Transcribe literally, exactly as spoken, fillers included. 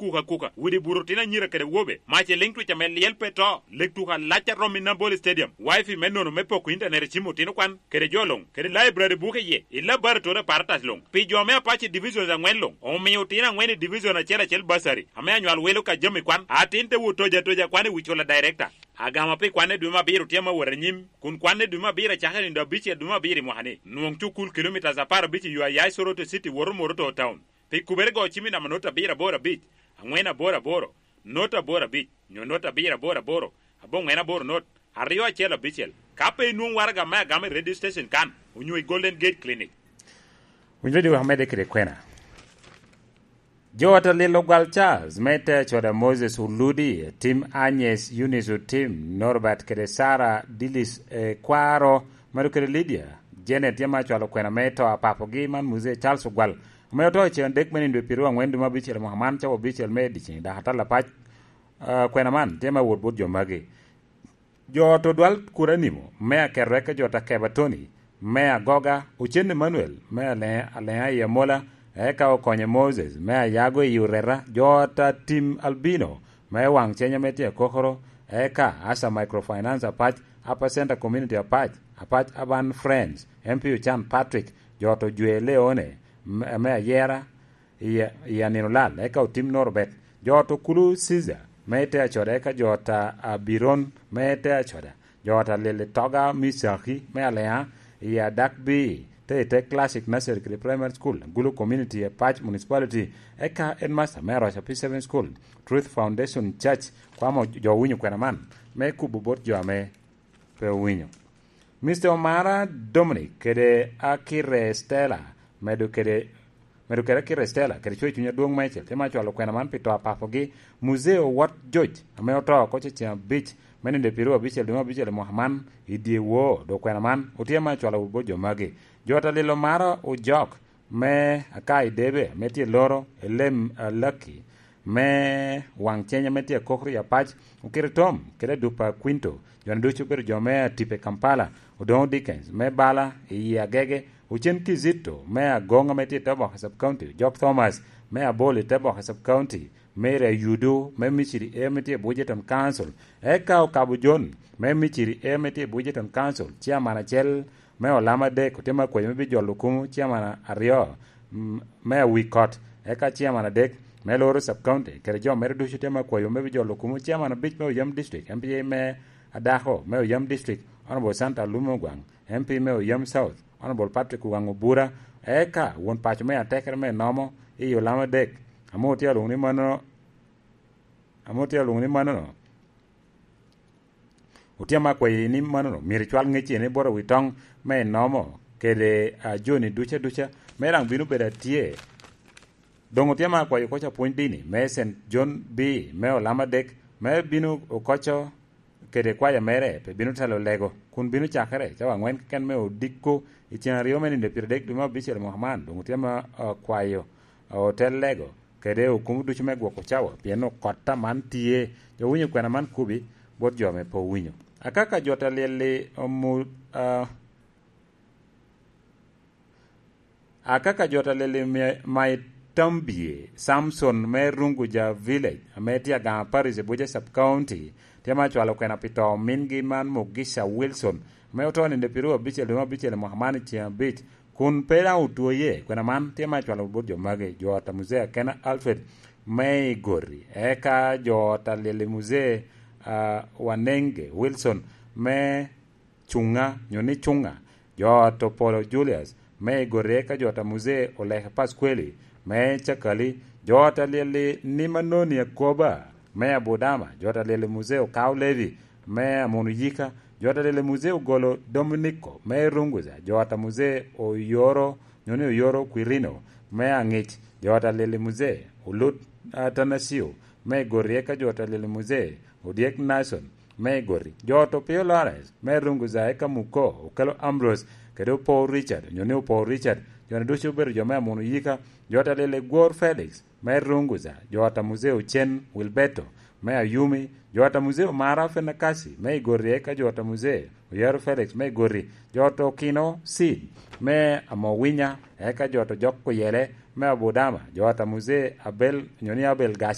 kuka kuka, widi buro otino anyira kede wobe, mac i liŋ twic ame lyel pe to, leg tuko alac a rom i Nambole Stadium, wifi me nono me poko intanet i cim otino kwan, kede jo luŋ, kede laibrari buke iye, i laboratori aparatas luŋ. Pi jo me Apac i divisions aŋwen luŋ, omio otino aŋwen i division acel acel basari, ame anywal welo ka jami kwan, atin te wot toja toja kwan i wi cula director. Agama pi kwan i dwe me abiro tye ame wot anyim, kun kwan i dwe me abiro acakere nino abicel dwe me abiro i mwaka-ni. Nwoŋ cukul kilomitas apar abic i yo a ya i Soroti City woto Moroto Town. Pi kubere go cim i namba not abiro aboro abic, aŋwen aboro aboro, not aboro abic, nyo not abiro aboro aboro, aboŋwen aboro not, aryo acel abicel. Ka pe inwoŋ waraga me agama i radio station kan, onyo i Golden Gate Clinic. Winyo dwe wek amedde kede kwena. Jo ata lilo gwal Charles, me te acoda Moses Oludi, Tim Agnes, Eunice Otim, Norbert kede Sarah, Dilis, eh, Kwaro, medo kede Lydia, Janet, yam acwalo kwena me to a papogi man Muzee Charles Ogwal, ame oto i cen adek me nindo i piru aŋwen dwe me abicel mwaka man, cawa abicel me dyeceŋ, dok atal apac, ah, kwena man tye me wot bot jo magi. Jo ot odwal Kuranimo, me aketo eka jo ta Keba Tony, me agoga, Ocen Emmanuel, me ale-, aleŋa i Amola, eka Okonye Moses, me ayago i Oreta, jo ot a Tim Albino, me waŋ cenya me tye akokoro, eka Asa Microfinance Apac, Upper Center Community Apac, Apac Urban Friends, M P Ochan Patrick, jo ot Ojwe Leone, me, me ayera, i, i anino lal, eka Otim Norbert, jo ot Okulu Caesar, me te acoda, eka jo ot a, a Biron, me te acoda, jo ot a Lili Toga Misaki, me Alea, i adak bi, te i te Classic Nursery kede Primary School, Gulu Community, Apac Municipality, eka Headmaster me Aroca P seven School, Truth Foundation Church, kwamo jo winyo kwena man, me kubo bot jo ame pe owinyo. Mister Omara Dominic kede Akire Stella, medo kede, medo kede Akire Stella, kede cwer cuny adwoŋ meicel, tye ma cwalo kwena man pi to a papogi, Muzee Owot Joc, ame oto oko cecen abic, me nindo i piru abicel dwe me abicel i mwaka man, i dye woo, dok kwena man, otye ma cwalo bot jo magi. Jo ta lilo Omara Ojok, me Akai Debe, ame tye loro, Elem Alaki, me waŋ ceny ame tye akokoro i Apac, Okiritom, kede Dupa Quinto, jo-ni ducu obedo jo me Atipe Kampala, Odoŋo Dickens, me Bala, i Agege, Ocen Kizito, me Agoŋ ame tye i te boka Sub County, Job Thomas, me Abol i te boka Sub County, Mary Ayudu, me Misiri A ame tye i Bujeton Council, eka Okabo John, me Misiri A ame tye i Bujeton Council, Chairman acel, me Olama Adek, otye me akwayo me bijolo kumo, Chairman aryo, m-, me Awikot, eka Chairman adek, me Loro Sub County, kede jo mere ducu otye me akwayo me bijolo kumo, Chairman abic me Oyam District, M P A me Adako me Oyam District, Honorable Santa Alume Ogwaŋ, M P me Oyam South, Honorable Patrick Ogwaŋ Obura, eka won paco me atekere me Nomo, i Olama Adek, ame otye alwoŋo ni mano, ame otye alwoŋo ni mano, Otyeno akwayi ni manono, myero icwal ŋecci ni bot awitoŋ me inomo kede, a, joni duca duca, me daŋ bino bedo atye. Doŋ otyeno akwayi okoc apwony dini me Saint John B me Olama Adek, me bino okoco kede kwaya mere, pe bino telo lego, kun bino cakere cawa aŋwen keken me odiko i cen aryo me nino pyeradek dwe me abicel mwaka man. Doŋ otyeno akwayo, a, otel lego kede okumo ducu me gwoko cawa, pien okot aman tye. Jo winyo kwena man kubi bot jo ame pe owinyo. Akaka jo ta lyel-li omu-, a, akaka jo ta lyel-li mi-, Maitambie Samson me Runguja Village, ame tye Aganga Parish i Buja Sub County, tye ma cwalo kwena pi to mingi man Mugisha Wilson, ame oto nino pyeru abicel dwe me abicel i mwaka man i ceng abic, kun pe daŋ otwoye. Kwena man tye ma cwalo bot jo magi, jo ot a Muzee Akena Alfred me Igoti, eka jo ot a Lili Muzee, a, Wanenge Wilson me Cuŋa, nyo ni Cuŋa, jo ot Opolo Julius me Igoti, eka jo ot a Muzee Oleke Paskweli me Cakali, jo ot a Lili Nimanoni Akoba me Abudama, jo ot a Lili Muzee Okaw Levi me Amono Yika, jo ot a Lili Muzee Ogolo Dominiko me Runguza, jo ot a Muzee Oyoro, nyo ni Oyoro Kwirino me Aŋic, jo ot a Lili Muzee Olut Atanasio me Igoti, eka jo ot a Lili Muzee Odyek Nason me Igoti, jo ot Opio Lawrence me Runguza, eka Muko Okelo Ambrose kede Opor Richard, nyo ni Opor Richard, jo-ni ducu obedo jo me Amono Yika, jo ot a Lili Gwor Felix me Runguza, jo ot a Muzee Ocen Wilberto me Ayumi, jo ot a Muzee Omara Fenakasi me Igoti, eka jo ot a Muzee Oyaro Felix me Igoti, jo ot Okino Seed me Amowinya, eka jo ot Ojok Kuyele me Abudama, jo ot a Muzee Abel, nyo ni Abel Gaci